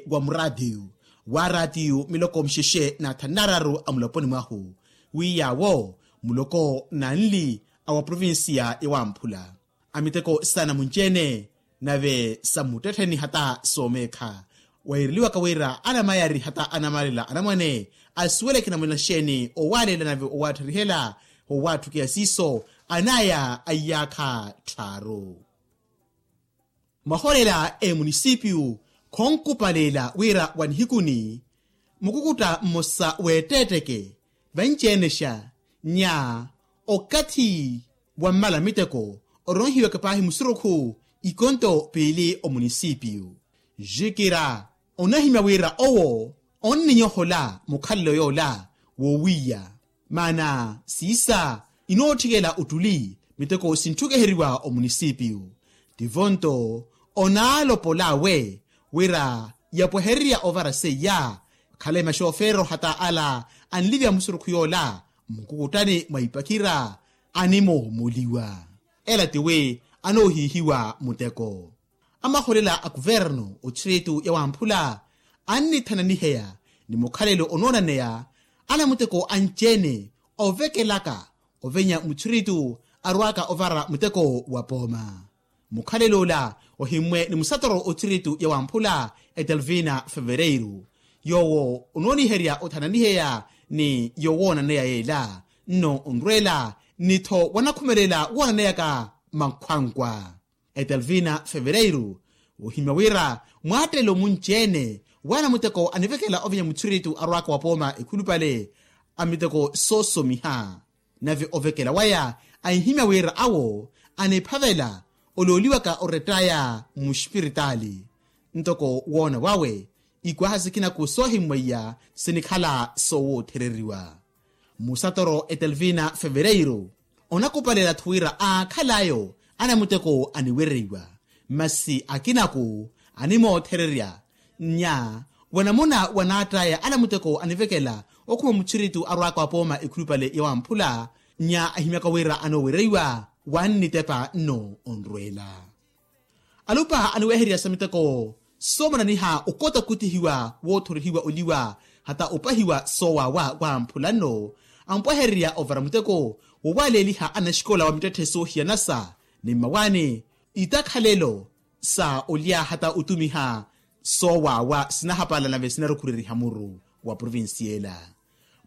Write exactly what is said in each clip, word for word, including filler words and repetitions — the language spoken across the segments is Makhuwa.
wa muraatiyu, wa raatiyu miloko mixexe na thanu nararu a muloponi mwahu, wi yaawo muloko nanli a wa provincia ya wamphula. A miteko saana munci-ene nave sa muttettheni hata soomeekha, weereliwaka wira anamayari hata anamalela anamwane asuweleke namuna xeeni owaaleela nave owaatthariheela. Owaatthukeiya siiso anaya a iyaakha tthaaru. Mwaholela emunisipiyu khonkupaleela wira wa nihikuni mukukutta mmosa w'etteetteke vanci-enexa nya okathi wammala miteko oronhiwaka paahi musurukhu ikonto piili omunisipiyu. Jikira onahimya wira owo onninyohola mukhalelo yoola wowiya. Maana siisa inootthikela ottuli miteko sintthukeheriwa omunisipiyu. Tivonto onaalopol'awe wira yapwehererya ovara seiya khale maxofeero hata ala anlivya musurukhu yoola mmukukuttani mwa ipakira animoomuliwa. Ela tiwi anoohiihiwa muteko. Amaholela a kuvernu othiritu ya wamphula annithananiheya ni mukhalelo onoonaneya anamuteko anci-ene ovekelaka ovenya muthiritu arwaka ovara muteko wa pooma. Mukhalelo ola ohimmwe ni musatoro othiritu ya wamphula etelvina fevereiru yoowo onooniherya othananiheya ni yowoonaneya yeela nno onrweela ni-tho wanakhumelela woonaneyaka mankhwankwa. Etelvina fevereiru ohimya wira mwaattelo munci-ene waana muteko anivekela ovenya muthiritu arwaka wa pooma ekhulupale a miteko soosomiha. Nave ovekela waya anhimya wira awo aniphavela olooliwaka orettaya muxipiritaali ntoko woona wawe ikwaha sikina ku soohimmweiya sinikhala soowoothereriwa. Musatoro etelvina fevereiru onakupalela-tho wira aakhal'ayo anamuteko aniwereiwa masi akinaku animoothererya nya wanamuna wanaatt'aya anamuteko anivekela okhuma muthiritu arwaka wa pooma ekhulupale ya wamphula nya ahimyaka wira anoowereiwa wannitepa nno onrweela. Alupa aniwehererya sa miteko soomananiha okota okutihiwa woothorihiwa oliwa hata opahiwa soowawa wamphula nno ampwehererya ovara muteko wowaaleeliha anaxikola wa mittetthe soohiyanasa ni mmawaani itakhalelo sa olya hata otumiha soowawa sinahapala nave sinarukhureriha muru wa provincia ela.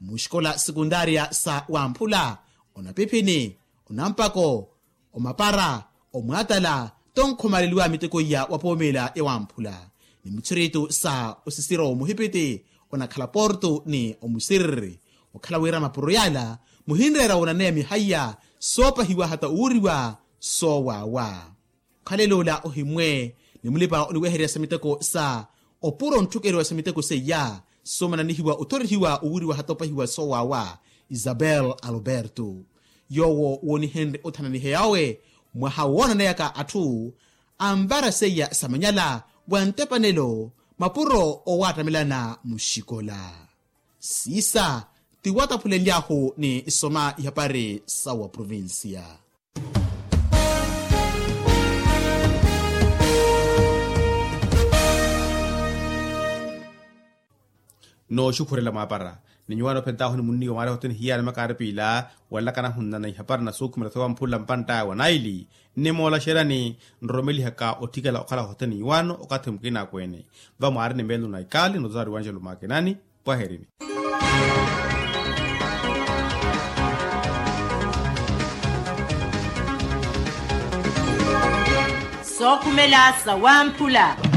Muxikola sekundaria sa wamphula onapiphini onampako omapara omwaatala tonkhomaleliwa miteko iya wa poomela ya wamphula ni muthiritu sa osisiro muhipiti onakhala porto ni omusiriri okhala wira mapuro yala muhinreera woonaneya mihaiya soopahiwa hata owuriwa soowawa. Okhalela ola ohimmwe ni mulipa oniwehererya sa miteko sa opuro ontthukeriwa sa miteko seiya soomananihiwa othorihiwa owuriwa hata opahiwa soowawa isabel alberto yoowo woonihenrye othananiheya owe mwaha woonaneyaka atthu anvara seiya samanyala wa ntepanelo mapuro owaattamelana muxikola. Siisa ti wataphulenlyahu ni isoma ihapari sa wa provincia. Nooxukhurela mwaapara ni nyuwaani ophentahu ni munniiwa mwaari hothene hiyana makaari piila wanlakana hunnana ihapari na suukhumela sowamphula mpantt'aya wa naili nnimoola xerani nromelihaka otthikela okhala hothene nyuwaano okathi mukina akweene va mwaari ni meelo na ikaali nozaari wanjelo mwakinani. Pwaherini. Sookhumela sawamphula.